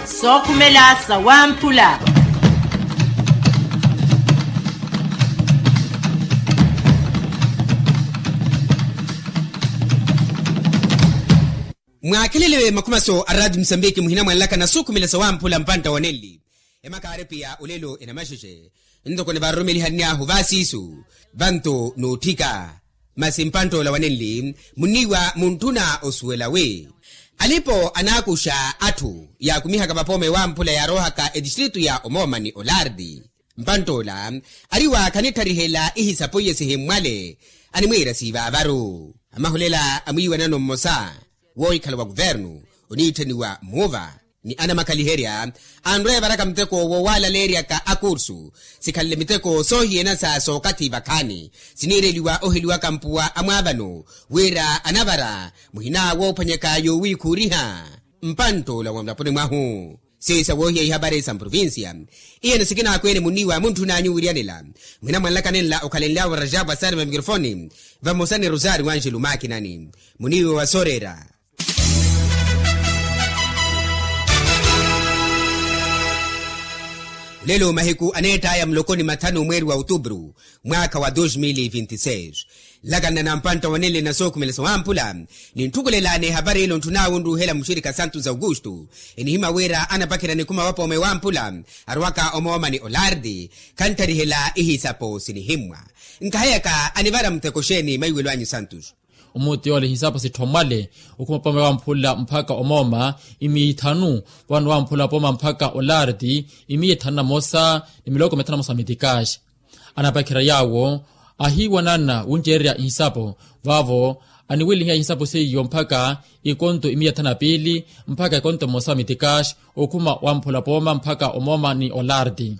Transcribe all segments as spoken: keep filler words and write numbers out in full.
Sookhumela sawamphula. Mwaakhelele makhumaso a raati musambiki muhina mwanlaka na sookhumela sawamphula mpantta wa nenli. Emakaari piya olelo enamaxexe ntoko nivaroromelihanny'ahu vaasiisu vanto nootthika. Masi mpantt'ola wa nenli munniiwa muntthuna osuwela wi alipo anaakuxa atthu yaakumihaka vapoome wamphula yaaroohaka etistritu ya omooma ni olardi. Mpantt'ola ari wa khanittharihela ihisapo iye sihimmwale animwiira siivaavaru amahulela amwiiwanano mmosa wohikhala wa kuvernu oniitthaniwa muuva ni anamakhaliherya anrweevaraka muteko wo waalaleeryaka akursu sikhalele miteko soohiyana sa sookathi vakhaani siniireliwa oheliwaka mpuwa amwaavano wira anavara muhina woophwanyaka yoowiikhuuriha mpantt'ola wa mulaponi mwahu. Siisa woohiya ihabari sa mprovincia iyeno sikinaakwene munniiwa muntthun'anyu wiryanela muhina mwanlaka nenla okhalenly'awe rajabu asari va mikrofoni vamosa ni rosari wanjelu maakinani muniiwe wa sooreera. Lelo mahiku aneett'aya muloko ni mathanu mweeri wa outubru mwaakha wa dos mil e vinti seis. Nlakanna na mpantta wanenle na sookhumela sawamphula nintthukhulela n'ehapari ilo ntthun'awe onruuhela muxirikha santos augusto enihimya wira anapakhira nikhuma vapoome wamphula arowaka omooma ni olardi khanttharihelela ihisapo sinihimmwa. Nkaheyaka anivara muteko xeeni maiwelo anyu santos? Omuuti yoola ihisapo sitthommwale okhuma pooma wamphula mphaka omooma imiya ithanu vano wamphula pooma mphaka olarti imiya ithanu na mosa ni miloko mithanu na mosa mitikaxi. Anapakhira yaawo ahiiwanana wunceererya ihisapo vaavo aniwelihiya ihisapo seiyo mphaka ikonto imiya ithanu na piili mphaka ikonto mmosa mitikaxi okhuma wamphula pooma mphaka omooma ni olarti.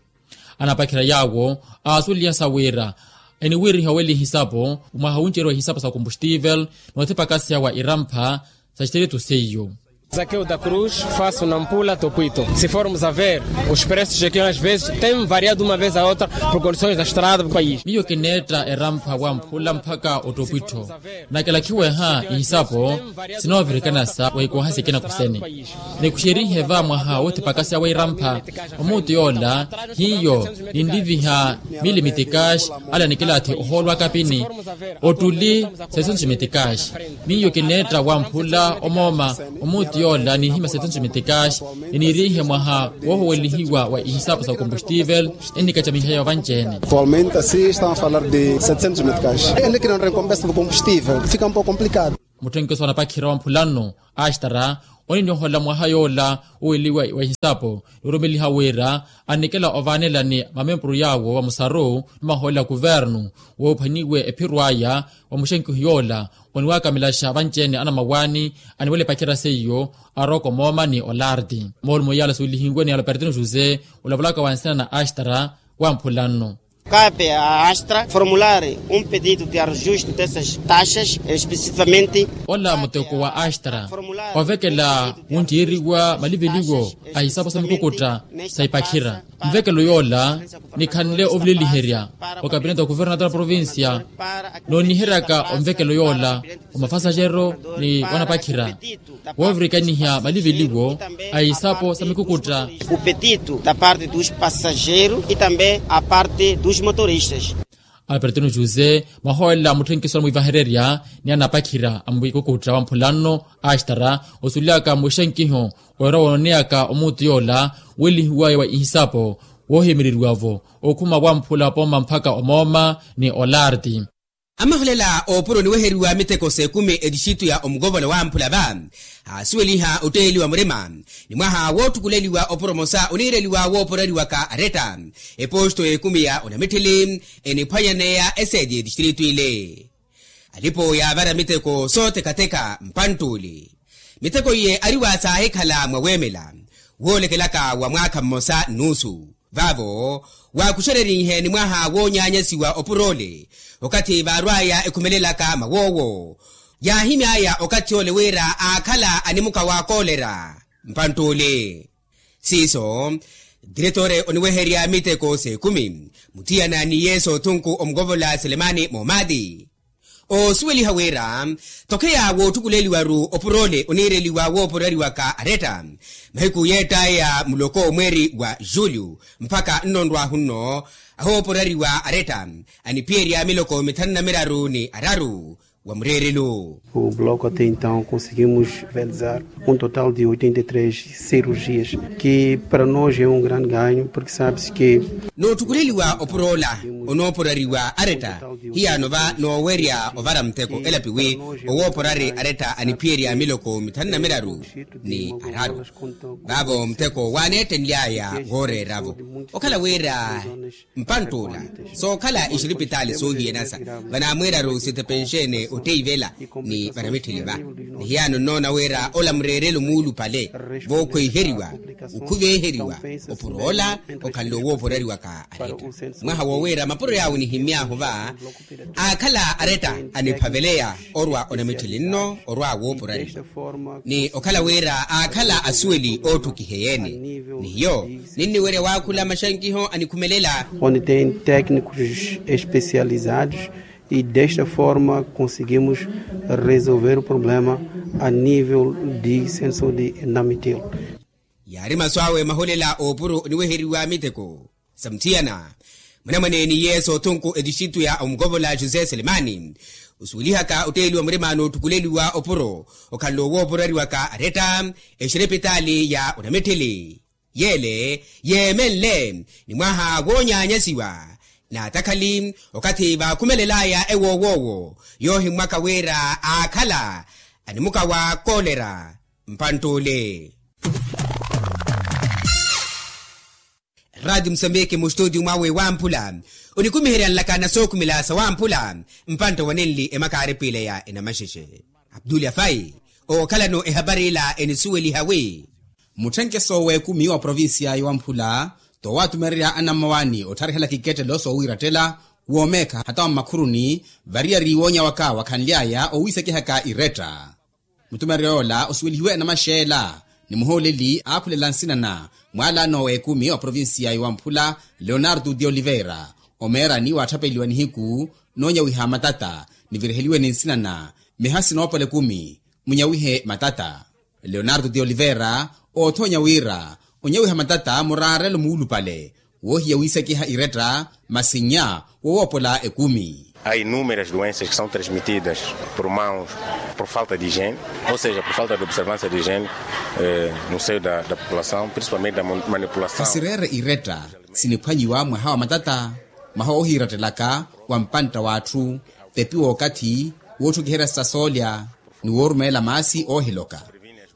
Anapakhira yaawo aasuweliha sa wira eniwiriha oweliha ihisapo mwaha wunceeriwa ihisapo sa combustivel noothipakasiha wa irampha sa xiteretu seiyo. Zakeu da cruz fasu na mpula topwito se formos a ver os preços aqui as vezes tem variado uma vez a outra por condições da estrada do país. Miyo kineetta erampha wamphula mphaka otopwittho nakelakhiweha ihisapo sinoovirikana sa waikonha sikina kusene. Nikuxerihe va mwaha woothipakasiya weirampha omuuti yoola hiyo ninliviha mili mitikaxi ale anikilaathi ohoolwaka pini ottuli sesonsi mitikaxi. Miyo kineetta wamphula omooma omuuti yoola nihimya sesonsi mitikaxi niniirihe mwaha woohowelihiwa wa ihisapo sa combustivel ennikacamiheya vanci-ene. Atualmente assi estamos a falar de setecentos meticais ele que não recompensa do combustível fica um pouco complicado. Mutthenkeso anapakhira wamphula nno astara oniniholela mwaha yoola oweliwa wa ihisapo yoorumeliha wira annikela ovaanela ni mamempuru yaawo vamusaru ni mahoolela kuvernu woophwanyiwe ephiro aya wa muxenkihu yoola oniwakamilaxa vanci-ene anamawaani aniwela epakhira seiyo aroko mooma ni olarti moolumo yaala suwelihiwe ni albertino josé olavalaka wa nsina na astara wamphula nno. Cabe a astra formular um pedido de ajuste dessas taxas especificamente. Ola muteko wa astra ovekela wunceeriwa maliveliwo a isapo sa mikukutta sa ipakhira. Nvekelo yoola nikhanle ovileliherya okapineti wa kuvernator wa provincia nooniheryaka onvekelo yoola wa mafasajero ni wanapakhira woovirikaniha maliveliwo a isapo sa mikukutta. O petito da parte dos passageiros e também a parte dos motoristas. Albertino josé mwahoolela mutthenkiso anamwiivahererya ni anapakhira a mwikukutta wa mphula nno astara osulyaka muxenkiho weera woononeyaka omuuti yoola welihiwaya wa ihisapo woohimireriwa-vo okhuma wamphula pooma mphaka omooma ni olarti. Amahulela oopuro oniweheriwa miteko s'ekumi etixitu ya omukovola wamphula va aasuweliha otteeliwa murima ni mwaha wootthukuleliwa opuro mosa oniireliwa woopureriwaka aretta eposto y'ekumi ya onamitthili eniphwanyaneya eseedi y'etistritu ile. Alipo yaavara miteko soothekatheka mpantt'ule miteko iye ari wa saahikhala mwa weemela woolekelaka wa mwaakha mmosa nnuusu vaavo waakuxererihe ni mwaha woonyaanyasiwa opur'ole okathi vaarw'aya ekhumelelaka mawoowo yaahimy'aya okathi ole wira aakhala animuka waakoolera mpantt'ule. Siiso diretore oniweherya miteko s'ekumi muthiyana n'iye s'othunku omukovola selemani moomati Oosuweliha wira tokheya wootthukuleliwaru opuro ole oniireliwa wooporariwaka aretta mahiku yeettaya muloko mweeri wa julio mpakha nnonrwahu nno ahooporariwa aretta aniphiyerya miloko mithanu na miraru ni araru wa mureerelo. O bloco até então conseguimos realizar um total de oitenta e três cirurgias, que para nós é um grande ganho porque sabe-se que nootthukuleliwa opuro ola onooporariwa aretta hiyaano va noowerya ovara muteko elapi wi owooporari aretta aniphiyerya miloko mithanu na miraru ni araru. Vaavo muteko waaneettenly'aya wooreeravo okhala wira mpantt'ula sookhala ixiripitaali soohiyanasa vanaamwiiraru sitepenxene otteivela ni vanamitthili va. Ni hiyaano nnoona wira ola mureerelo muulupale vookhweiheriwa okhuveiheriwa opuro ola okhanle owooporariwaka aretta mwaha woowiira mapuro yaawo nihimy'ahu va aakhala aretta aniphaveleya orwa onamitthili nno orwa wooporariwa ni okhala wira aakhala asuweli ootthukiheyeene. Ni hiyo ninniwerya waakhula maxankiho anikhumelela onde tem técnicos especializados e desta forma conseguimos resolver o problema a nível de censo de namitil. Yaari masu awe maholela oopuro oniweheriwa miteko sa muthiyana munamwane ni yesu othunku etixitu ya omukovola josé selemani osuwelihaka otteeliwa murima nootthukuleliwa opuro okhanle owooporariwaka aretta exirepitaali ya onamitthili yeele yeemenle ni mwaha woonyaanyasiwa naatakhali okathi vaakhumelel'aya ewoowoowo yoohimmwaka wira aakhala animukawa koolera mpantt'ule. Raati musambiki mustuuti mwawe wamphula onikumiherya nlakana sookhumela sawamphula mpantta wanenli emakaari piileya enamaxexe abdul afai ookhalano ehapari ila enisuweliha wi mutthenkeso w'ekumi wa provincia yowamphula towatumererya anammawaani ottharihelaka ikettelo soowiirattela woomeekha hata wa mmakhuruni variyari woonyawaka wakhanly'aya owiisakihaka iretta mutumereryo yoola osuwelihiwe enamaxeela ni muhooleli aakhulela nsina na mwaalano w'ekumi wa provincia yowamphula leonardo de oliveira omeerani waatthapeliwa nihiku noonyawiha matata niviriheliwe ni nsina na miha sinoopola ekumi munyawihe matata leonardo de oliveira oothoonya wira onyawiha matata muraarelo muulupale woohiya wiisakiha iretta masi nnya wowoopola ekumi. Há inúmeras doenças que são transmitidas por mãos por falta de higiene ou seja por falta de observância de higiene no seio da população principalmente da manipulação. Khasireere iretta siniphwanyiwa mwaha wa matata mwaha woohiirattelaka wa mpantta w'atthu pepi w'okathi wootthukiherya sa soolya ni woorumeela maasi oohiloka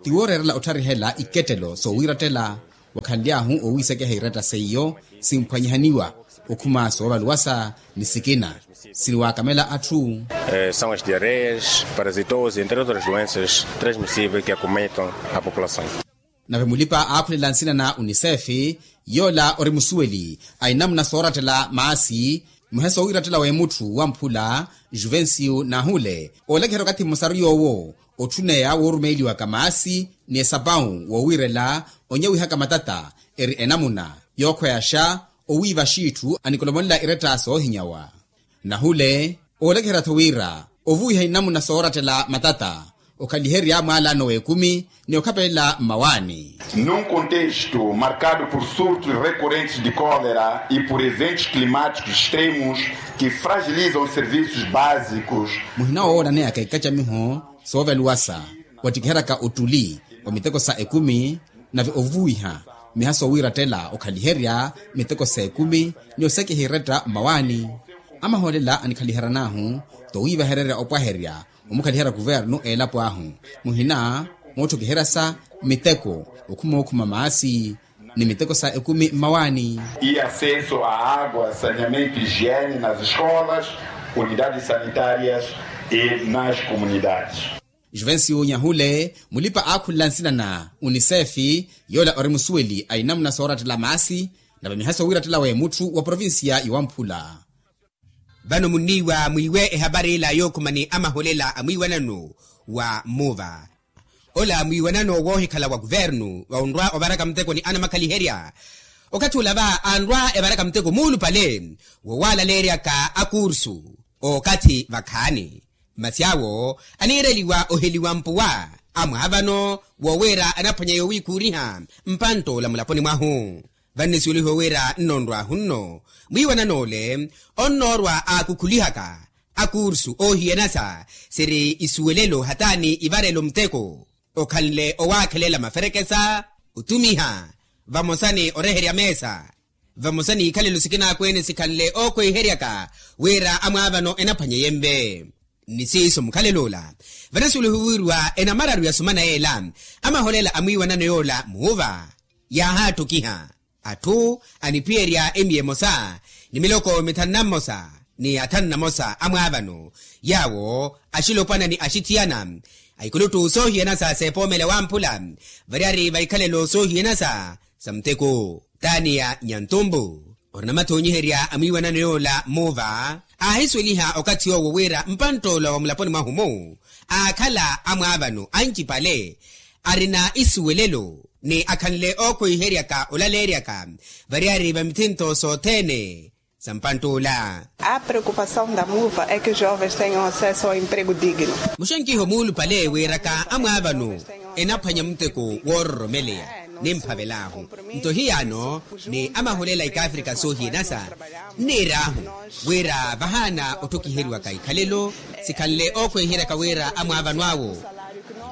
ti wooreerela ottharihela ikettelo soowiirattela wakhanly'ahu owiisakiha iretta seiyo simphwanyihaniwa okhuma soovaluwasa ni sikina siniwaakamela atthu. São as diarreias parasitose entre outras doenças transmissíveis que acometam a população. Nave mulipa aakhulela nsina na unicef yoola ori musuweli a inamuna soorattela maasi muheso wiirattela w'emutthu wamphula juvencio nahule oolakiherya okathi mmosaru yoowo otthuneya woorumeeliwaka maasi ni esapawu woowiirela onyawihaka matata eri enamuna yookhweyaxa owiiva xiitthu anikolomolela iretta soohinyawa nahule oolakiherya-tho wira ovuwiha inamuna soorattela matata okhaliherya mwaalano w'ekumi ni okhapelela mmawaani. Num contexto marcado por surtos recorrentes de cólera e por eventos climáticos extremos que fragilizam os serviços básicos. Muhina woowoonaneyaka ikacamiho sooveluwasa wattikiheryaka ottuli wa miteko sa ekumi nave ovuwiha miha soowiirattela okhaliherya miteko sa ekumi ni osekiha iretta mmawaani amahoolela anikhaliheryan'ahu towiivahererya opwaherya omukhaliherya kuvernu elapo ahu muhina mootthukiheryasa miteko okhuma okhuma maasi ni miteko sa ekumi mmawaani. E acesso a água saneamento higiene nas escolas unidades sanitárias e nas comunidades. Juvencio nyahule mulipa aakhulela nsina na unicef yoola ori musuweli a inamuna soorattela maasi nave miha soowiirattela w'emutthu wa provincia yowamphula. Vano munniiwa mwiiwe ehapari ila yookhuma ni amaholela a mwiiwanano wa mmuuva ola mwiiwanano woohikhala wa kuvernu onrwa ovaraka muteko ni anamakhaliherya okathi ola va anrwa evaraka muteko muulupale wowaalaleeryaka akursu okathi vakhaani Masi awo aniireliwa oheliwa mpuwa amwaavano wowira anaphwanya yowiikuuriha mpantt'ola mulaponi mwahu. Vannisuwelihiwa wira nnonrw'ahu nno mwiiwanan'ole onnoorwa aakukhulihaka akuursu oohiyanasa siri isuwelelo hataani ivarelo muteko okhanle owaakhelela maferekesa otumiha vamosa ni oreherya meesa vamosa n'ikhalelo sikinaakwene sikhanle ookhweiheryaka wira amwaavano enaphwanye yenve. Ni siiso mukhalelo ola vanasuwelihiwa wiiriwa enamararu ya sumana yeela amaholela a mwiiwanano yoola muuva yaahaattokiha atthu aniphiyerya emiya emosa ni miloko mithanu na mmosa ni athanu na mosa amwaavano yaawo axilopwana ni axithiyana a ikuluttu soohiyanasa seepoomela wamphula variyari va ikhalelo soohiyanasa sa muteko. Taniya nyantumbu orina mathoonyiherya a mwiiwanano yoola muuva aahisuweliha okathi yoowo wira mpantt'ola wa mulaponi mwahu-mu aakhala amwaavano ancipale arina isuwelelo ni akhanle ookhweiheryaka olaleeryaka variyari va mithinto sothene sa mpantt'ola. A preocupação da muva é que os jovens tenham acesso ao emprego digno. Muxenkiho muulupale wiiraka amwaavano enaphwanya muteko woororomeleya nimphavel'ahu nto hiyaano ni amaholela ikaafrika soohiyanasa nniir'ahu wira vahaana otthokiheriwaka ikhalelo sikhanle ookhweiheryaka wira amwaavano awo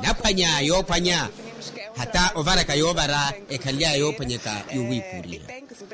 enaphwanya yoophwanya hata ovaraka yoovara ekhanly'aya yoophwanyaka yowiikuuriha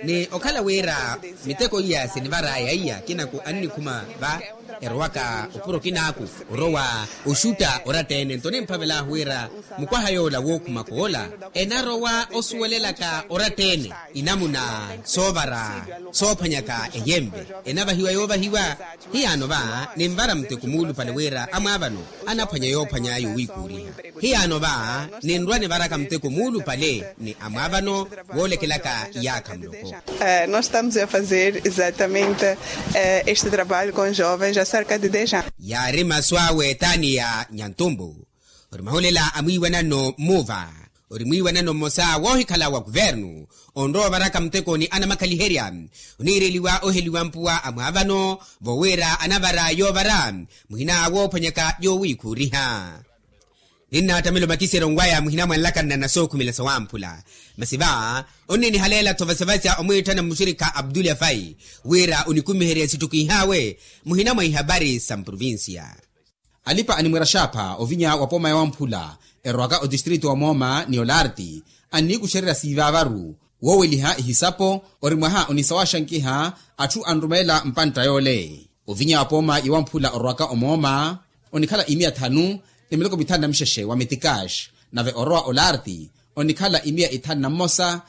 ni okhala wira miteko iya sinivar'aya iya kinaku annikhuma va erowaka opuro kinaaku orowa oxutta oratta-ene nto nimphavel'ahu wira mukwaha yoola wookhumaka ola enarowa osuwelelaka oratta-ene inamuna soovara soophwanyaka eyenve enavahiwa yoovahiwa hiyaano va ninvara muteko muulupale wira amwaavano anaphwanya yoophwanya yowiikuuriha hiyaano va ninrwa nivaraka muteko muulupale ni amwaavano woolekelaka iyaakha muloko. Nós estamos a fazer exatamente este trabalho com jovens acerca de dez anos. Yaari masu awe taniya nyantumbu ori mahulela a mwiiwanano mmuva ori mwiiwanano mmosa woohikhala wa kuvernu onrowa ovaraka muteko ni anamakhaliherya oniireliwa oheliwa mpuwa a mwaavano vowiira anavara yoovara muhina woophwanyaka yoowiikhuuriha. Ninnaattamela omakiseryo nwaya muhina mwanlakanana sookhumela sawamphula masi va onniinihaleela-tho vasavasa omwiitthana mmuxirikha abdulya fai wira onikumiherya sittukiih'awe muhina mwa ihapari sa mprovincia. Alipa animwira xaapha ovinya wa pooma ya wamphula erowaka otistrito wa mooma ni olarti anniikuxererya siivaavaru wooweliha ihisapo ori mwaha onisawaxankiha atthu anrumeela mpantta yoole. Ovinya wa pooma ya wamphula orowaka omooma onikhala imiya thanu ni miloko mithanu na mixexe wa mitikax nave orowa olarti onikhala imiya ithanu na mmosa